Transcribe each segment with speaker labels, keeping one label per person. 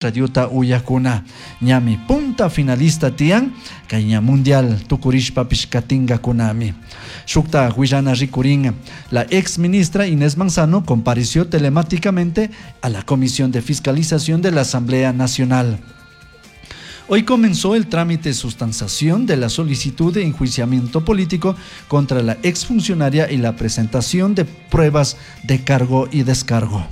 Speaker 1: Radiota uyakuna ñami punta finalista tiyan kay ña mundial tukurishpapish katinkakunami. Shukta huillana rikurin. La ex ministra Inés Manzano compareció telemáticamente a la Comisión de Fiscalización de la Asamblea Nacional. Hoy comenzó el trámite de sustanciación de la solicitud de enjuiciamiento político contra la exfuncionaria y la presentación de pruebas de cargo y descargo.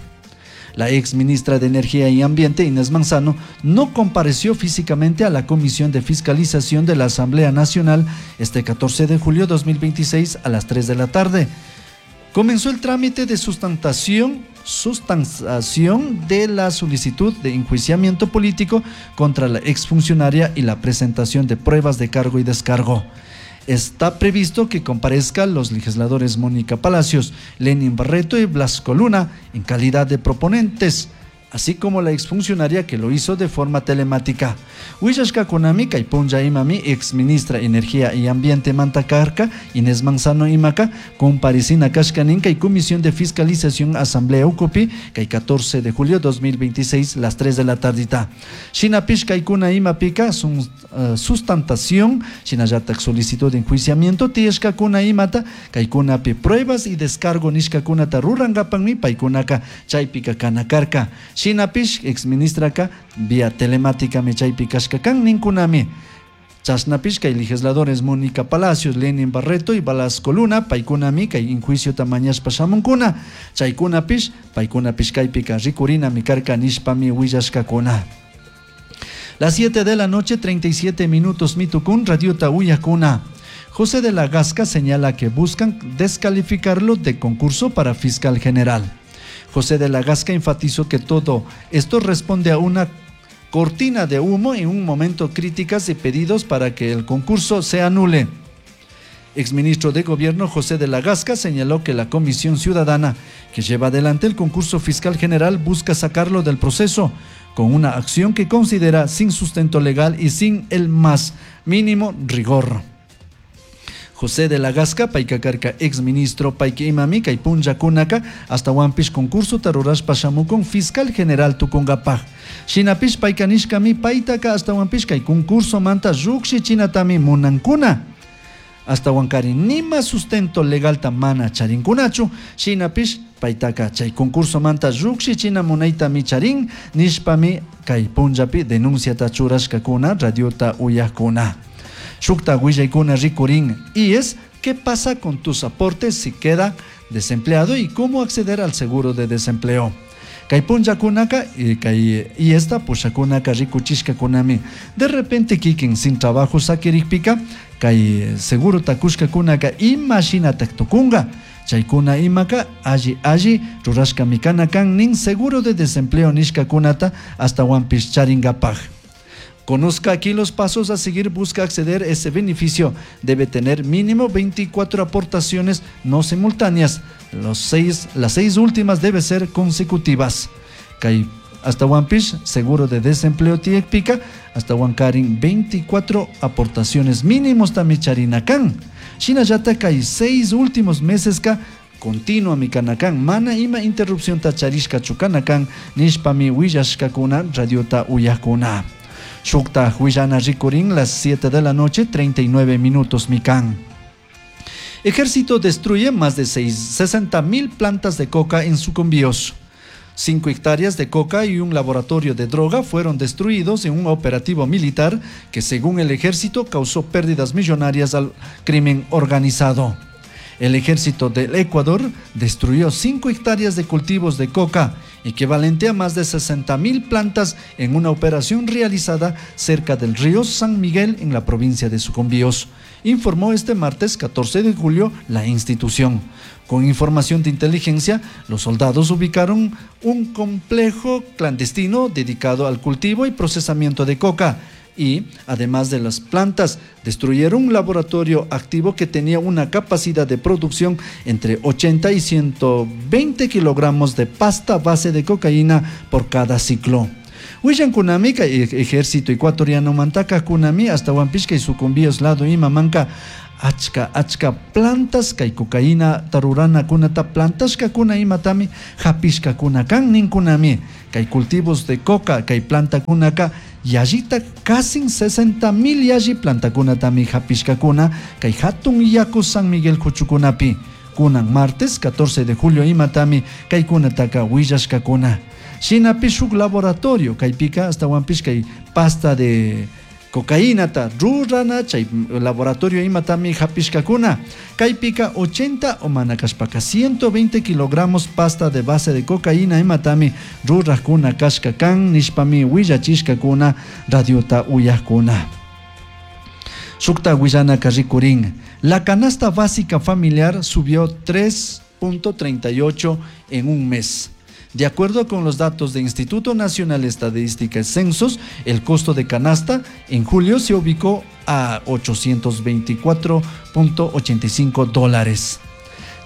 Speaker 1: La ex ministra de Energía y Ambiente, Inés Manzano, no compareció físicamente a la Comisión de Fiscalización de la Asamblea Nacional este 14 de julio de 2026 a las 3 de la tarde. Comenzó el trámite de sustanciación de la solicitud de enjuiciamiento político contra la exfuncionaria y la presentación de pruebas de cargo y descargo. Está previsto que comparezcan los legisladores Mónica Palacios, Lenin Barreto y Blasco Luna en calidad de proponentes, así como la exfuncionaria que lo hizo de forma telemática. Huillashka kunami kay punlla imami exministra Energía y Ambiente Mantacarca, Inés Manzano imaka, comparecina kashka nin kay Comisión de Fiscalización Asamblea Ucupi, kay 14 de julio 2026, las 3 de la tardita. Shinapish kaykuna imapika sustentación, shinallatak solicitud de enjuiciamiento, tiyashkakuna imata, kaykunapi pruebas y descargo nishkakunata rurankapanmi paykunaka chaypika kanakarka. Shinapish exministraka vía telemática mi chaypi kashka kan ninkunami. Chashnapish kay legisladores Mónica Palacios, Lenin Barreto y Velasco Luna, paykunami kay enjuicio tamañashpa shamunkuna. Chaykunapish, paykunapish kaypika rikurina mi karka nishpami willashkakuna. Las 7 de la noche, 37 minutos, mitukun, radiota uyakuna. José de la Gasca señala que buscan descalificarlo de concurso para fiscal general. José de la Gasca enfatizó que todo esto responde a una cortina de humo en un momento críticas y pedidos para que el concurso se anule. Exministro de Gobierno José de la Gasca señaló que la Comisión Ciudadana que lleva adelante el concurso fiscal general busca sacarlo del proceso con una acción que considera sin sustento legal y sin el más mínimo rigor. José de la Gasca, paykakarka exministro payka imami kay punllakunaka ashtahuanpish concurso tarurashpa shamukun fiscal general tukunkapaj. Shinapish payka nishkami paytaka ashtahuanpish kay concurso manta llukshichinatami munankuna. Ashtahuankari nima sustento legalta mana charinkunachu, shinapish paytaka chay concurso manta llukshichina munaytami charin nishpami kay punllapi denunciata churashkakuna radiota uyakuna. Shukta willaykuna rikurin y es ¿qué pasa con tus aportes si queda desempleado y cómo acceder al seguro de desempleo? Kay punllakunaka y kay y esta pushakunaka rikuchishkakunami. De repente kikin sin trabajo sakirikpika kay seguro takushkakunaka imashinatak tukunga. Chaykuna imaka alli alli rurashka mikana kan nin seguro de desempleo nishkakunata ashtawanpish charingapaj. Conozca aquí los pasos a seguir, busca acceder a ese beneficio. Debe tener mínimo 24 aportaciones no simultáneas. Las 6 últimas deben ser consecutivas. Kay ashtawanpish, seguro de desempleo tiekpika, ashtawankarin 24 aportaciones mínimos tamicharinakan. Shinallata kay 6 últimos meses ka continua mikanakan, mana ima interrupción tacharishka chukanakan, nishpami willashkakuna radiota uyakuna. Shukta huillana rikurin las 7 de la noche, 39 minutos mikan. Ejército destruye más de 60.000 plantas de coca en Sucumbíos. 5 hectáreas de coca y un laboratorio de droga fueron destruidos en un operativo militar que, según el ejército, causó pérdidas millonarias al crimen organizado. El ejército del Ecuador destruyó 5 hectáreas de cultivos de coca, equivalente a más de 60.000 plantas, en una operación realizada cerca del río San Miguel en la provincia de Sucumbíos, informó este martes 14 de julio la institución. Con información de inteligencia, los soldados ubicaron un complejo clandestino dedicado al cultivo y procesamiento de coca y, además de las plantas, destruyeron un laboratorio activo que tenía una capacidad de producción entre 80 y 120 kilogramos de pasta base de cocaína por cada ciclo. Willan kunami kay ejército ecuatoriano mantaka kunami ashtawanpish kay Sucumbíos lado imamanka Achka achka plantas kay cocaína ruranakunata plantashkakuna imatami hapishkakuna kan ninkunami. Kay cultivos de coca kay plantakunaka yallita casi 60,000 yalli plantakunatami hapishkakuna kay hatun yaku San Miguel kuchukunapi. Kunan martes 14 de julio imatami kaykunataka willashkakuna. Shinapish shuk laboratorio kaypika astawanpish kay pasta de cocaínata rurana chay laboratorio imatami hapishkakuna. Kaypika 80 o mana kashpaka 120 kilogramos pasta de base de cocaína imatami rurajkuna kashka kan nishpami willachishkakuna radiota uyajkuna. Shukta willanaka rikurin. La canasta básica familiar subió 3.38 en un mes. De acuerdo con los datos del Instituto Nacional de Estadística y Censos, el costo de canasta en julio se ubicó a 824.85 dólares.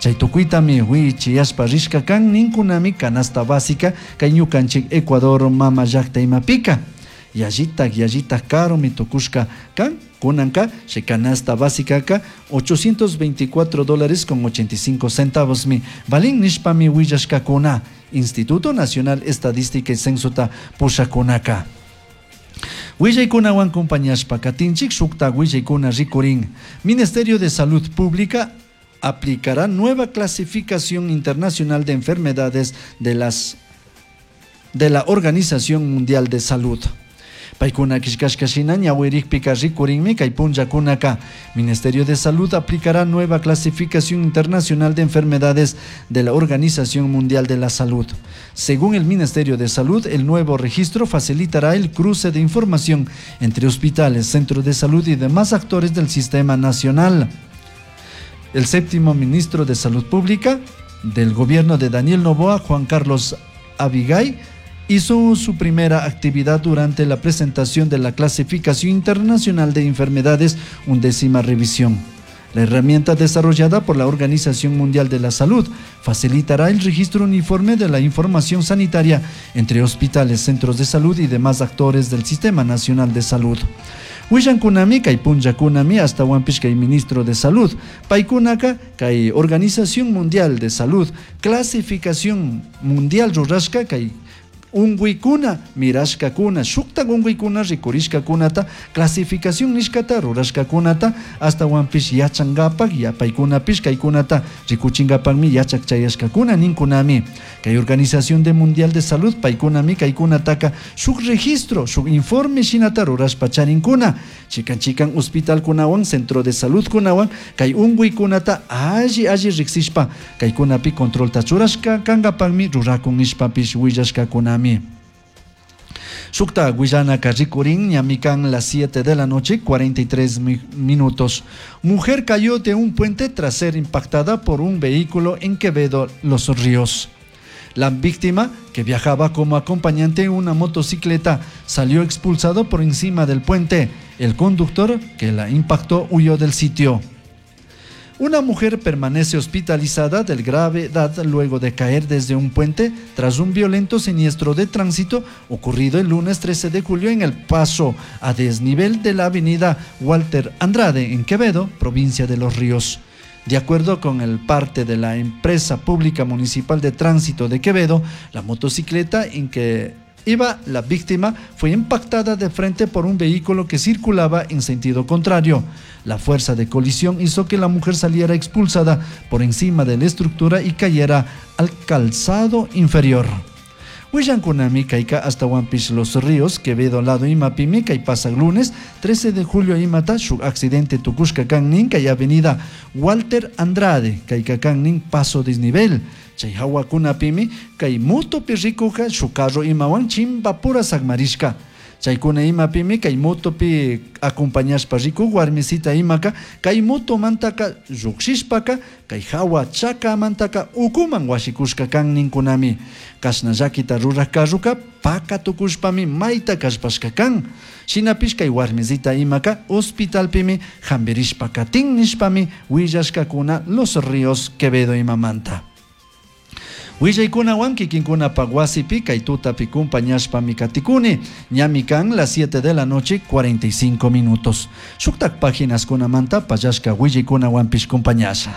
Speaker 1: Chay tukuytami wichiyashpa rishka kan ninkunami canasta básica kay ñukanchik Ecuador mama llakta imapika. Yallitak, yallitak karumi tukushka kan kunanka chay canasta básica ka 824 dólares con 85 centavos mi valin nishpami willashkakuna. Instituto Nacional Estadística y Censota pushakunaka. Willaykunawan compañashpa katinchik shukta willaykuna rikurin. Ministerio de Salud Pública aplicará nueva clasificación internacional de enfermedades de la Organización Mundial de Salud. Paykuna kishkashka shina ñawirikpika rikurinmi kay punllakunaka. Ministerio de Salud aplicará nueva clasificación internacional de enfermedades de la Organización Mundial de la Salud. Según el Ministerio de Salud, el nuevo registro facilitará el cruce de información entre hospitales, centros de salud y demás actores del sistema nacional. El séptimo ministro de Salud Pública del gobierno de Daniel Noboa, Juan Carlos Abigay, hizo su primera actividad durante la presentación de la Clasificación Internacional de Enfermedades, 11ª revisión. La herramienta desarrollada por la Organización Mundial de la Salud facilitará el registro uniforme de la información sanitaria entre hospitales, centros de salud y demás actores del Sistema Nacional de Salud. Willankunami kay punllakunami astawanpish kay ministro de Salud, paykunaka kay Organización Mundial de Salud, Clasificación Mundial rurashka kay unguykuna mirashkakuna shuktak unguykuna rikurishkakunata clasificación nishkata rurashkakunata astawanpish yachankapak yapaykunapish kaykunata rikuchinkapakmi yachak chayashkakuna ninkunami. Kay Organización de Mundial de Salud paykunami kaykunataka shuk registro shuk informe shinata rurashpa charinkuna chikan chikan hospitalkunawan centro de salud kunawan kay unkuykunata alli alli riksishpa kaykunapi controlta churashka kankapakmi rurakun nishpapish willashkakunami. Shukta willanaka rikurin ñamikan las 7 de la noche 43 minutos. Mujer cayó de un puente tras ser impactada por un vehículo en Quevedo, Los Ríos. La víctima, que viajaba como acompañante en una motocicleta, salió expulsado por encima del puente. El conductor que la impactó huyó del sitio. Una mujer permanece hospitalizada de gravedad luego de caer desde un puente tras un violento siniestro de tránsito ocurrido el lunes 13 de julio en el paso a desnivel de la avenida Walter Andrade en Quevedo, provincia de Los Ríos. De acuerdo con el parte de la empresa pública municipal de tránsito de Quevedo, la motocicleta en que iba la víctima fue impactada de frente por un vehículo que circulaba en sentido contrario. La fuerza de colisión hizo que la mujer saliera expulsada por encima de la estructura y cayera al calzado inferior. Willankunami kayka astawanpish Los Ríos, Quevedo lado imapimi kay pasaq lunes 13 de julio imata shuk accidente tukushka kannin kay avenida Walter Andrade kayka kannin paso desnivel. Chay hawakunapimi kay motopi rikuka shuk carro imawan chimbapura sakmarishka. Chaykuna imapimi kay motopi acompañashpa riku warmisita imaka kay motomantaka llukshishpaka kay hawa chakamantaka ukuman washikushka kan ninkunami. Kashna llakita ruraj carruka paka tukushpami mayta kallpashka kan. Shinapish kay warmisita imaka hospitalpimi hampirishpa katin nishpami willashkakuna Los Ríos Quevedo imamanta. Willaykunawan kikinkunapak wasipi kay tutapi kumpañashpami katikuni. Ñami kan las 7 de la noche 45 minutos. Shuktak páginas kunamanta pallashka willaykunawanpish kumpañasha.